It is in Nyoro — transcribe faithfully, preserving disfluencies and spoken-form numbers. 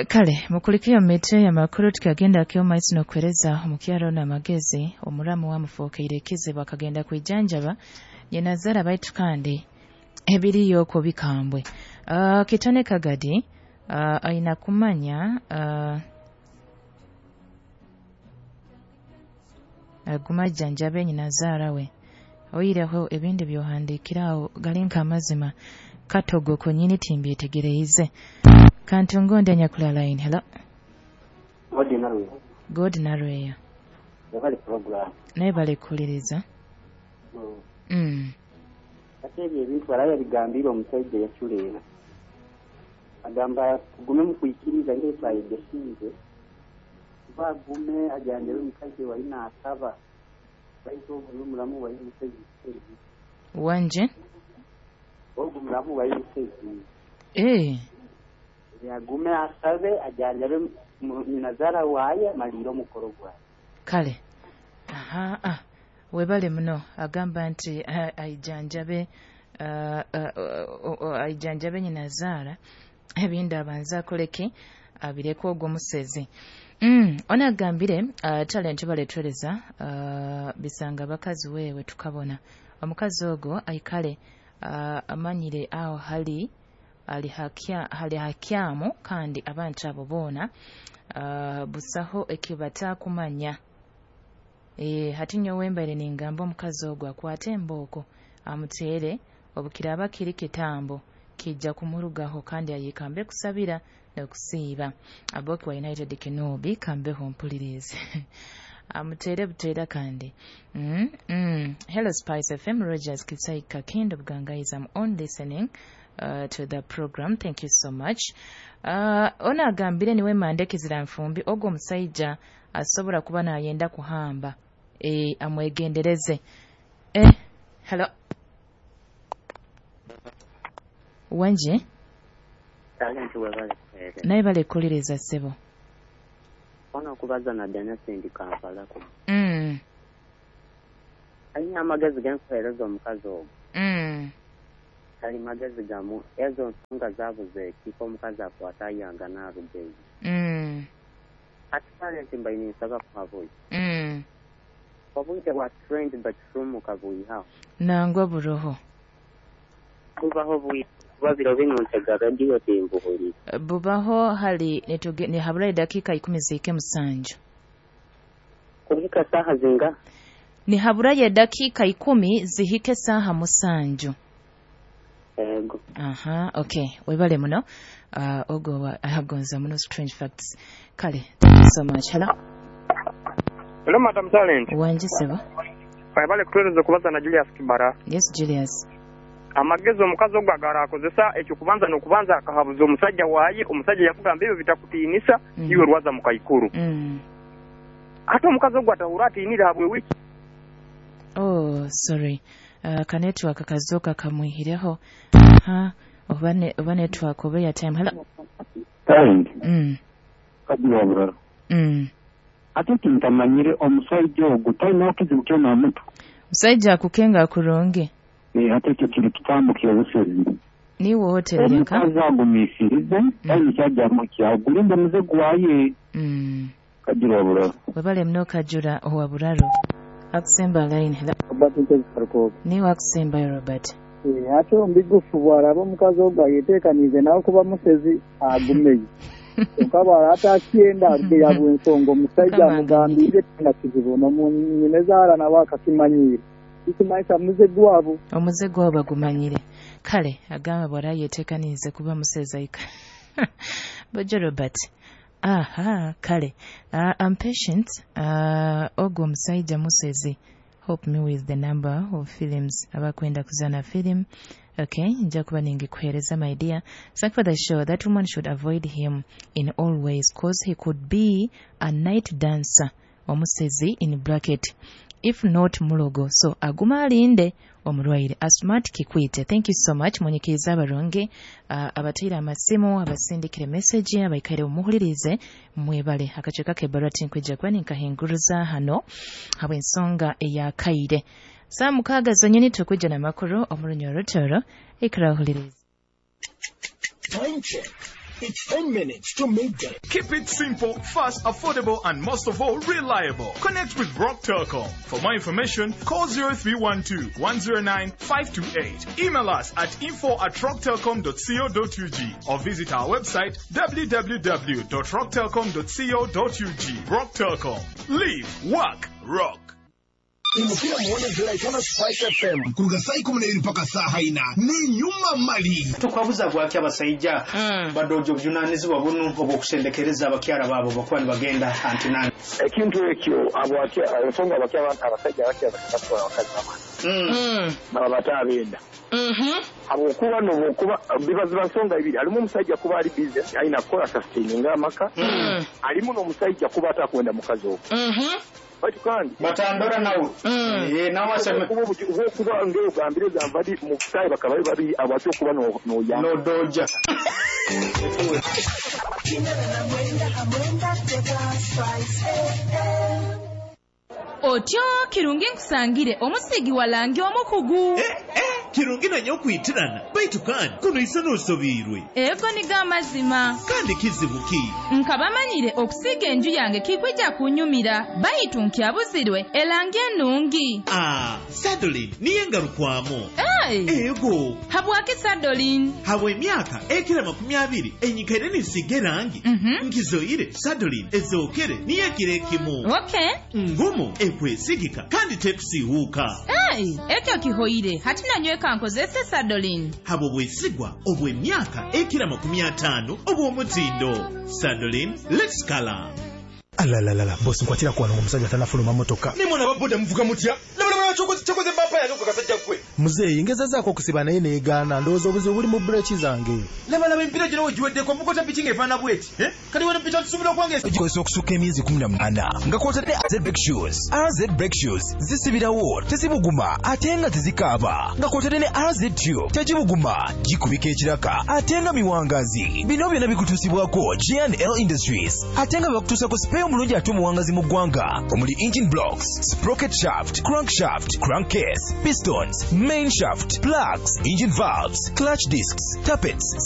Kale mukulikiyo mete ya makuru tukagenda kyoma isi nokueleza omukyaro na magezi omuramu wa mufokeire kizibu akagenda kwijanjaba nyenazara baitu kandi ebiriyo ko bikambwe. Uh, kitone kagadi uh, aina kumanya uh, aguma janjabe nyinazara we oyireho ebindi byohandikirawo galinka amazima katogo konyini timbyetegereize. Kantungonde nyakula line. Hello. God narwe. God narwe. Yabali program. Naye bali kuliriza. Mm. Mm. Ate ebyo ebintu baraya bigambira omusajja yachuleera. Agamba tugume mu kuikiriza ng'etwayegesize. Bagume ajanjabe omukazi walina asaba. Baitu omulamu wali musezi. Wanje? Ogu mulamu wali musezi. Eh. Yagume asabe ajanjabe nazara waye maliro mukoro gwaye. Kale. Aha ah. Webale muno agamba nti aijanjabe uh, uh, uh, aijanjabe nyinazara ebinda abanza akoleke abireko ogwo musezi. Mm, ona agambire uh, talent baletwereza uh, bisanga bakazi wewe tukabona omukazi ogwo aikale uh, amanyire aho hali ali hakia hali hakiamu kandi abantu abo bona uh, busaho ekibata kumanya. E, hati nyowe mbaire ningamba omukazi ogwo akwate embooko amuteere obukiraba kiri kitambo kijja kumurugaho kandi ayikambe kusabira n'okusiiba. Aboki wa United Kenobi kambeho mpulirize. Amuteere buteera kandi. Mm, mm. Hello Spice F M, Rogers Kisaika Kendo Bugangaiza. I'm on listening uh, to the program. Thank you so much. Uh, ona agambire niwe mande kizira nfumbi ogwo omusajja asobola kuba nayenda kuhamba. E, amwegendereze. Eh, hello. Wanje? Naye bale kuliriza sebo. Ono kubaza na Dana Sendi Kampala ko. Mm. Alina amagezi genkuheereza omukazi ogwo. Mm. Ali magezi gamu ezo nsonga zabuze ekifo omukazi akwata ayanga n'arugeyo. Mm. Ati talent mbaine nsaba kuhabuya. Mm. Obwite bwa trend bakifumuka buyihaho. Nangwa buroho. Bubaho buyi babiro bino ntega radio timbuhuri. Bubaho hali nituge ni habura dakika ikumi zike musanju. Kuhika saha zinga? Ni habura ya dakika ikumi zihike saha musanju. Ego. Aha, okay. Webale muno. Uh, ogo wa agonza muno strange facts. Kale, thank you so much. Hello. Hello Madam Talent. Wanje sebo. Webale kutueleza kubaza na Julius Kibara. Yes Julius. Amagezi omukazi ogwo agara akozesa ekyo kubanza n'okubanza akahabuza omusajja waaye omusajja yakugamba ebyo bitakutiinisa mm. Iwe rwaza mu kaikuru. Mm. Ate omukazi ogwo atahura atiinira habwe wiki. Oh, sorry. Uh, ka network kazoka kamwihireho. Ha, oba ne oba network oba ya time. Hello. Talent. Mm. Kagira buraro. Mm. Ate tintamanyire omusajja ogwo talina okizibu kyona omuntu. Musajja akukenga kurungi. Ate ekyo kiri kitambo ky'obusezi. Niwe otereka. Omukazi agumiisirize, talina kyajjamu kyagulimba omuze gwaye. Mm. Kagira buraro. Webale muno Kajura owa buraro. Akusemba line. Hello. Robert Ntezifarukooga. Niwe akusembayo Robert. Eh, ate ombigufu bw'alaba omukazi ogwo ayeteekaniize nawe kuba musezi agumeyo. Kyokka bw'alaba atakyenda aruge yabwa ensonga omusajja amugambire tena kizibu n'omunyinezaala nawe akakimanyiire. Ikimaisa muze gwabo. Omuze gwabo bagumanyire. Kale agamba bw'alaba yeteekaniize kuba musezi aika. Bojo Robert. Aha, kale. Uh, I'm patient. Uh, ogwo omusajja musezi. Help me with the number of films abakwenda kuzana film. Okay, nja kuba ningikuhereza my dear. Thank for the show. That woman should avoid him in all ways cause he could be a night dancer. Omusezi in bracket. If not mulogo. So aguma alinde omulwaire. Asmart Kikwite. Thank you so much. Munyikiriza abarungi uh, abateera amasimu abasindikire message abaikaire omuhulirize mwebale akaceka k'ebbaluwa tinkwija kuba ninkahinguruza hano habw'ensonga eyakaire. Saa mukaaga zonyini tukwijja n'amakuru omu Runyoro Rutoro ikara ohulirize. Time check. It's ten minutes to midday. Keep it simple, fast, affordable, and most of all, reliable. Connect with Rock Telcom. For more information, call zero three one two one zero nine five two eight. Email us at info at rocktelcom dot co dot U G or visit our website w w w dot rocktelcom dot co dot U G. Rock Telcom. Live, work, rock. Imukira muone Ziraitana Spice F M kuruga saa ikumi na ibiri mpaka saa haina ni nyuma mali. Tukwabuza gwaki abasaija badoja obujunanizibwa bunu obwokusendekereza abakyara baabo bakuba nibagenda antinani? Ekintu ekyo abwaki- ensonga abaki abantu abasajja abakya bakatwala abakazi bamani baba batabenda, habwokuba nobwokuba biba ziba nsonga ibiri. Halimu omusajja kuba ali busy, alina kukola sustaininga amaka, alimu n'omusajja kuba atakwenda mukazi ogwo, baitu kandi batandora nawe. Eh, nawe aseme okuba ngaogambire gamba di mu butayi bakaba bali babiri abaki okuba no- noyamba nodoja. Otyo kirungi nkusangire omusiigi wa langi omukugu. Kirungi nanye okwitirana, baitu kandi kuno isa n'osobiirwe. Ego nigo amazima. Kandi kizibu ki? Nkabamanyire okusiiga enju yange kikwija kunyumira, baitu nkyabuzirwe elangi ennungi. Ah, Sadolin niyo engarukwamu. Hey! Ego. Habwaki Sadolin? Habwa emyaka ekira makumi abiri enyikaire ninsiiga erangi, nkizoire Sadolin ezookere niyo ekiro ekimu. Okay. Ngumu, ekwesigika kandi tekusiiwuuka. Hey, ekyo kihoire hati nanyweka nkozese Sadolin. Habwo bwesigwa obw'emyaka ekira makumi ataano obw'omutindo. Sadolin, let's color. Alalalala, bosi, nkwatira kuwano omusajja tanafuluma motoka. Nimwana baboda muvuga mutya? Labalabala, kyokoze bampa yange ku kasajja gwe. Muzeeyi, ngezezaako okusiba naye neegaana. Ndowooza obuzibu buli mu bureki zange. Labalaba empiira gino wegiweddeko mukota piki ng'efaanana bweti. Eh? Kati wano pita tusobola okwange. Gikozesa okusukka emyezi kumi na munaana nga kwotadde A Z brake shoes. A Z brake shoes zisibirawo, tezibuguma ate nga tezikaaba, nga kwotadde ne A Z tube tegibuguma, gikubika ekiraka ate nga miwangazi. Bino byonna bikutuusibwako G and L Industries, ate nga bakutuusako spare omulungi ate omuwangazi mu ggwanga, omuli engine blocks, sprocket shaft, crankshaft, crankcase, pistons, main shaft, plugs, engine valves, clutch discs, tappets.